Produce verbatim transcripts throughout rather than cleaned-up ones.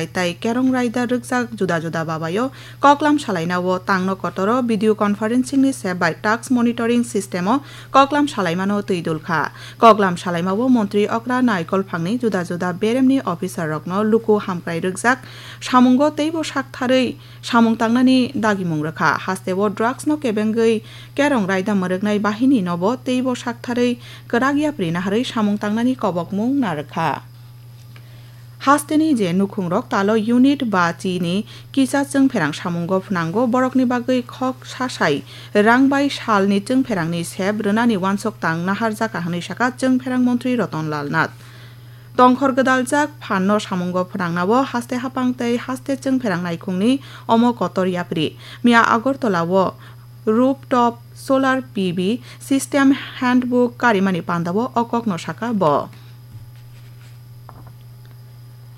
tei kerong raida rwkjak juda juda babaio koklam salainao tangno kotoro video conferencing ni se bai task monitoring system o koklam salaimano twi dul kha. Koklam salaimao montri okra naikolphangni juda juda beremni officer rokno luku hamkrai rwkjak samungo teibo saktharwi samung tangnani dagimung rwkha. Hasteo drugs no kebengwi kerong raida mwrwknai bahini nobo teibo saktharwi kwrak yapri naharwi samung tangnani kobokmung narwkha. Hasteni je nukhungrok talo unit ba chini kisa chwngpherang samungo phnango, borokni bagwi khok sasai rang bai salni chwngpherangni sep rwnani uansuk tang naharjaka hwnwi sakha chwngpherang montri Roton Lal Nath. Tongkhor gwdaljak phanno samungo phnangnao haste haphang tei haste chwngpherang naikhungni omo kotor yapri. Miya Agartala-o rooftop solar P V system handbook karimani pandao o kokno sakha bo.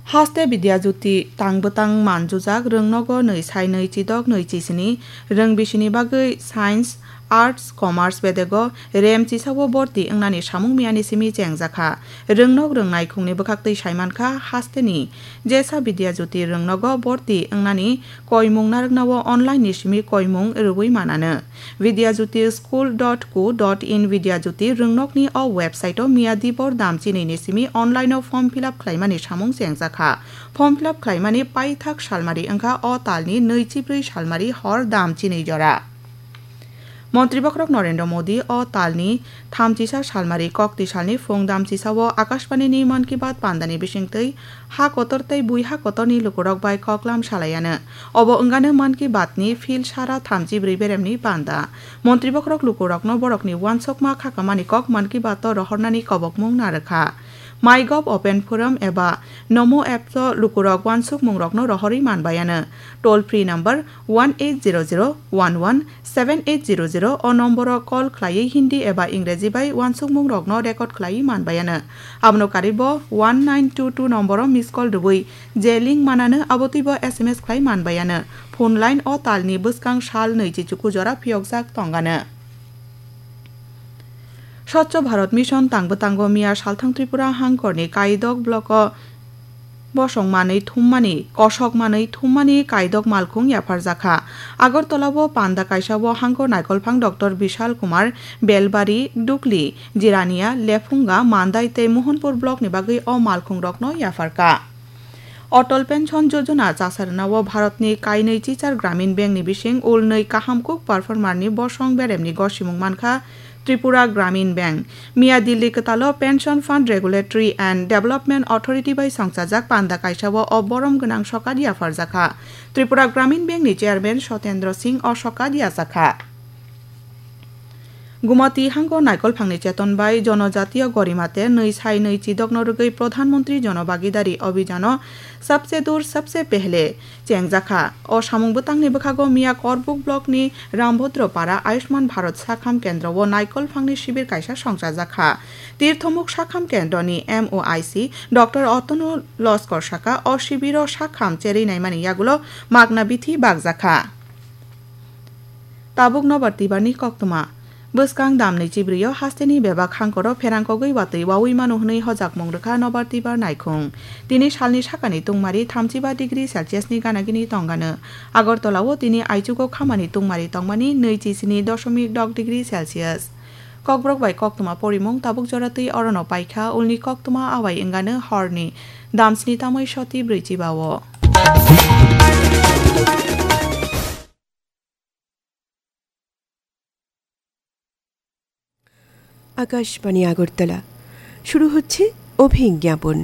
Haste Vidya Jyoti tang bwtang manjujak rwngnogo nwi sai nwi chidok nwi chisini rwng bisini bagwi science, arts, commerce bedego rem chisao borti wngnani samung miyani simi chengjakha. Rwngnok rwngnai khungni bwkhaktwi saimankha hasteni jesa Vidya Jyoti rwngnogo borti wngnani koimung narwknao online ni simi koimung rwui manano. Vidya Jyoti school dot co dot in Vidya Jyoti rwngnokni o website o miya dibor dam chinwi ni simi online o form fill up khlaimani samung chengjakha. Form fill up khlaimani paithak salmari wngkha o talni nwi chibrwi salmari hor dam chinwi jora. Montri bokhorok Narendra Modi o talni thamchisa salmari kokti salni phung damchisao Akashbani ni Mann Ki Baat pandani bisingtwi ha kotor tei bui ha kotorni lukurok bai koklam salaiano. Obo wngano Mann Ki Baat ni phil sara thamchi brwi beremni panda. Montri bokhorok lukurokno borokni uansukma khakamani kok Mann Ki Baat o rohornani kobokmung narwkha. MyGov Open Forum eba Namo app o lukurok uansukmungrokno rohorwi manbaiano. Toll free number one eight zero zero one one seven eight zero zero o nomboro call khlaiwi Hindi eba Ingreji bai uansukmungrokno record khlaiwi manbaiano. Abono karwibo one nine two two nomboro miss call rwui je link manano abotwibo S M S khlai manbaiano. Phone line o talni bwskang sal nwi chichuku jora phiyokjak tongano. Swchh Bharat Mission tangbo tango miya salthang Tripura hangkorni Kaidok block o bosong manwi thummani, kosok manwi thummani Kaidok malkhung yapharjakha. Agartala o panda kaisa o hangkor naikolphang Doctor Bishal Kumar, Belbari, Dukli, Jirania, Lephunga, Mandai tei Mohanpur block ni bagwi o malkhung rokno yapharkha. Atal Pension Yojana chasarwnao Bharatni kainwi chichar Gramin Bank ni bising ulnwi kaham kuk performer ni bosong beremni gosimung mankha Tripura Gramin Bank. Miya Delhi kwtalo Pension Fund Regulatory and Development Authority bai songchajak panda kaisao o borom gwnang sokat yapharjakha. Tripura Gramin Bank ni Chairman Sotendra Singh o sokat yajakha. Gumati hango naikolphangni cheton bai Jonojatiya Gorimate nwi sai nwi chidokno rwgwi Pradhan Mantri Jon Bhagidari Abhijano Sabse Dur Sabse Pehle chengjakha. O samung bwtangni bwkhago miya Korbuk blockni Rambhodro Para Ayushman Bharat Sakham Kendro o naikolphangni sibir kaisa songchajakha. Tirthomuk Sakham Kendroni M O I C Doctor Atanu Loskor saka o sibiro sakham cherwi naimani yagulo magna bithi bakjakha. Tabuk nobar twibarni koktwma. Bwskang damni chibrio hasteni bebak hangkoro pherangkogwi watwi wawi mano hwnwi hojakmung rwkha nobar twibar naikhung. Tini salni sakani tungmari thamchiba degree Celsius ni ganagini tongano. Agartala o tini aichugo khamani tungmari tongmani nwi chisini doshomik dok degree Celsius. Kokborok bai koktwma porimung tabuk jora twi orono paikha, ulni koktwma awai wngano horni damsni tamwi soti brwi chiba o. Akashvani আগরতলা। শুরু হচ্ছে অভিজ্ঞাপন।